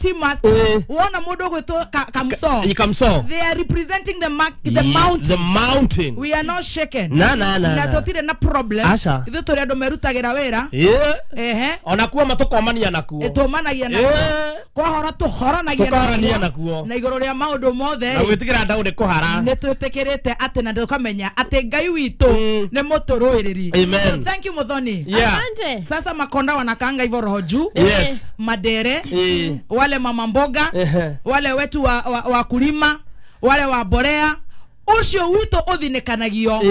tea master. Wona mundu gwitwo Kamso. Kamso. They are representing the mountain. The mountain. We are not shaken. Na na na. Na tutire na problem. Ithu turi andu merutagira wira. Yeah. Ona kuo matukomania nakuo. Tumanagia nakuo. Kwahora tuhoranagia nakuo. Na iguru ria maundu mothe. Na gwitikira ndau ni kuhara. Ni twitikirite ati na tukamenya ati Ngai witu ni muturuiriri. Amen. So thank you Muthoni. Yeah. Asante. Sasa makonda wanakaanga hivyo roho juu. Yes. Madere. Wale mama mboga, wale wetu wa kulima, wale wa borea, ucio witu uthinekanagio.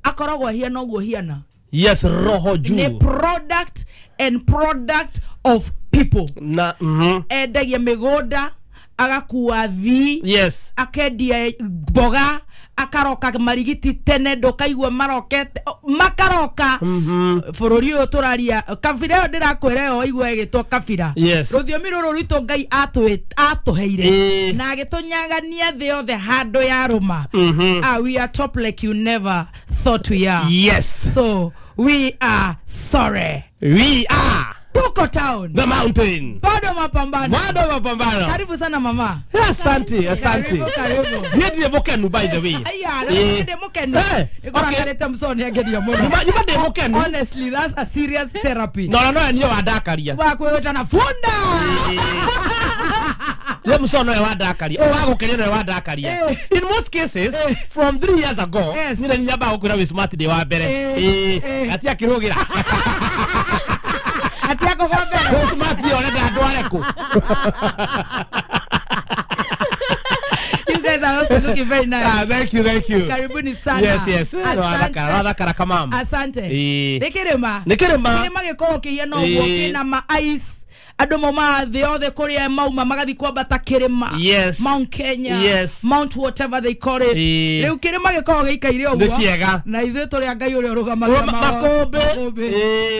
Akoragwo hiana uguo hiana. Yes, roho juu. Ni product and product of people. Na endagia migunda, agakua thi. Yes. Akendia mboga, akaroka marigiti tene ndukaigua marokete makaroka. Bururi uyu turaria kabira iyo ndirakwira yo igua igitwo kabira. Yes. Ruthiomi ruru rwitu Ngai atuheire na agitunyagania thi yothe handu ya ruma. We are top like you never thought we are. Yes. So we are sorry. We are Tuko town. The mountain. Bado mapambano. Bado mapambano. Karibu sana mama. Asante, asante. Karibu. Ndiye mukenu by the way. Aya, ndiye mukenu. Ikorakarete msoni ageria muno. Nyuma ndiye mukenu. Honestly, that's a serious therapy. No, no, no, niyo wadakaria. Wakweweta na funda. Ye msono ya wadakaria. O wagukeria na wadakaria. In most cases from 3 years ago, nile nyamba gukwira wi smart day wa mbere. Atia kirugira. Atia ko mbere. Smart day orenda andu areku. You guys are also looking very nice. Ah, thank you, thank you. Karibuni sana. Yes, yes. Asante. Kamam. Asante. Nikirima. Nikirima. Kirima gikorwo kihiana uguo kina ma ice. Andu mauma thi othe kuria mauma magathi kwambata kirima. Yes. Mount Kenya. Yes. Mount whatever they call it. Riu kirima gikorwo giikaire uguo. Na ithuĩ tũrĩ a Ngai ũrĩa ũrũgamagia makũmbĩ.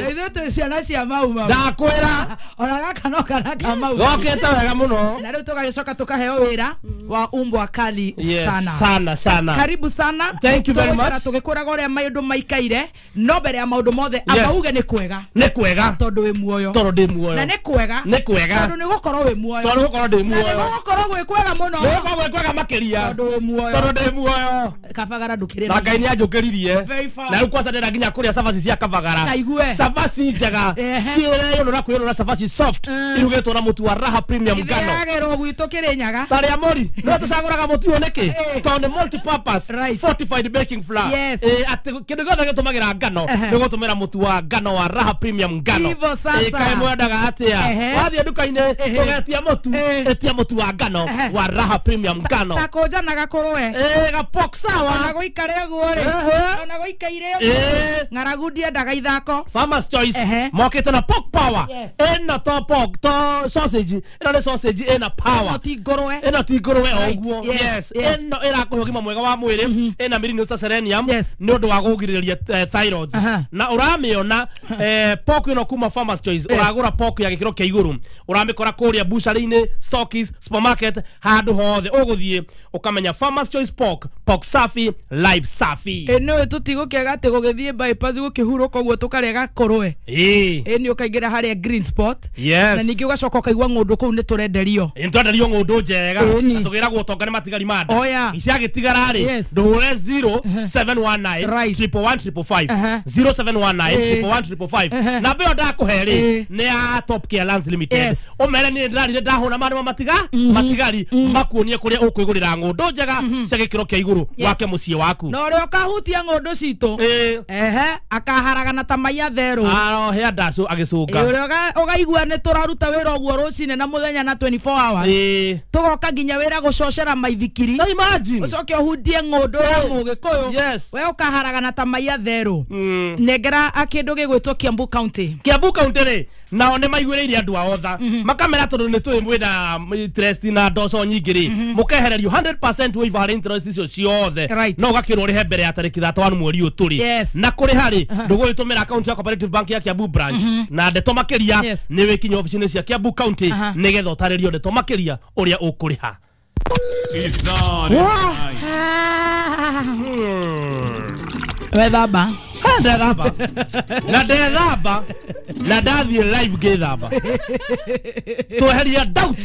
Na ithuĩ twĩ ciana cia mauma. Ndakwĩra. Ona gaka no kana ka mauma. Gokĩte wega mũno. Na rĩu tũgagĩcoka tũkaheo wĩra wa umbwa kali. Yes, sana. Sana sana. Karibu sana. Thank you very much. Tũgĩkwĩraga ũrĩa maũndũ maikaire no mbere ya maũndũ mothe amba uge nĩ kwega. Nĩ kwega. Tondũ wĩ muoyo. Tondũ ndĩ muoyo. Na nĩ kwega. Nĩ kwega. Tondũ nĩ gũkorwo wĩ muoyo. Tondũ gũkorwo ndĩ muoyo. Na nĩ gũkorwo gwĩ kwega mũno. Nĩ gũkorwo gwĩ kwega makĩria. Tondũ wĩ muoyo. Tondũ ndĩ muoyo. Kabagara ndũkĩrĩ. Na Ngai nĩ anjũkĩririe. Na rĩu kwaca ndĩrenda nginya kũrĩa cabaci cia Kabagara. Kaigue. Cabaci njega. Ciĩreyũnũra kwĩyũnũra cabaci soft. Irugĩtwo na mũtu wa Raha Premium ngano. Ithĩagĩrwo gwitũ Kĩrĩnyaga. Tarĩa mori. No tũcagũraga mũtu ũyũ nĩkĩ? Tondũ nĩ multi-purpose fortified baking flour. Atĩ kĩndũ gĩothe gĩtũmagĩra ngano nĩ gũtũmĩra mũtu wa ngano wa Raha Premium ngano. Ivo sasa. Kaĩ mwendaga atĩa? Wathiĩ nduka-inĩ ũgetia mũtu, etia mũtu wa ngano wa Raha Premium ngano. Ta kũnja na gakũrwe. Gapok sawa. Ona gũikare ũguo rĩ. Ona gũikaire ũguo. Ng'aragu ndiendaga ithako. Farmer's Choice mokĩte na pork power. Ĩno to pork to sausage. Ĩno nĩ sausage ĩna power. Ĩno ti ngũrwe. Ĩno ti ngũrwe o ũguo. Yes. Ĩno ĩrakũhe ũgima mwega wa mwĩrĩ. Ĩna minerals ta selenium nĩ ũndũ wa kũgirĩrĩria thyroids. Na ũramĩona pork ĩno kuma Farmer's Choice. Ũragũra pork ya gĩkĩro kĩa igũrũ. Ũramĩkora kũrĩa butchery-inĩ, stockies, supermarket, handũ hothe ũgũthiĩ ũkamenya Farmer's Choice pork, pork safi, life safi. Ĩno tũtigũkĩaga atĩ gũgĩthiĩ bypass gũkĩhurũka ũguo tũkarĩa gakũrwe. Ĩni ũkaingĩra harĩa green spot. Yes. Na ningĩ ũgacoka ũkaigua ng'ũndũ kũu nĩ tũrenderio. Nĩ twenderio ng'ũndũ njega. Na tũgĩragwo ũtonga nĩ matigari ma nda. Iciagĩtigara rĩ, ndũhũre 0719 111 555. 0719 111 555. Namba ĩyo ndakũhe rĩ nĩ ya Top Care Lands Limited. Ũmere niĩ ndĩrarire ndahũna marĩ matiga matigari makuonie kũrĩa ũkwĩgũrĩra ng'ũndũ njega cia gĩkĩro kĩa igũrũ wake mũciĩ waku. Na ũrĩa ũkahutia ng'ũndũ citũ akaharagana ta maiya therũ. Arohea ndacũ agĩcũnga. Ũrĩa ũkaigua nĩ tũraruta wĩra ũguo rũcinĩ na mũthenya na 24 hours. Tũgoka nginya wĩra gũcocera maithikiri. No imagine. Ũcoke ũhutie ng'ũndũ ya mũgĩkũyũ. Yes. We ũkaharagana ta maiya therũ. Nengera kĩndũ gĩgwĩtwo Kiambu County. Kiambu County rĩ nao nĩ maiguĩrĩire andũ ao tha makamera tondũ nĩ tũĩ mwĩna interest na ndoco nyingĩ rĩ mũkehererio 100% waiver harĩ interest icio ciothe no ũgakĩrwo ũrĩhe mbere ya tarĩki 31 mweri ũyũ tũrĩ na kũrĩha rĩ ndũgũgĩtũmĩra account ya Cooperative Bank ya Kiambu branch na ndeto makĩria nĩ wĩkinya obici-inĩ cia Kiambu County nĩgetha ũtarĩrio ndeto makĩria ũrĩa ũkũrĩha. Wethamba. Ndethamba. Na ndethamba. Na ndathiĩ live ngĩthamba. Tweheria doubt.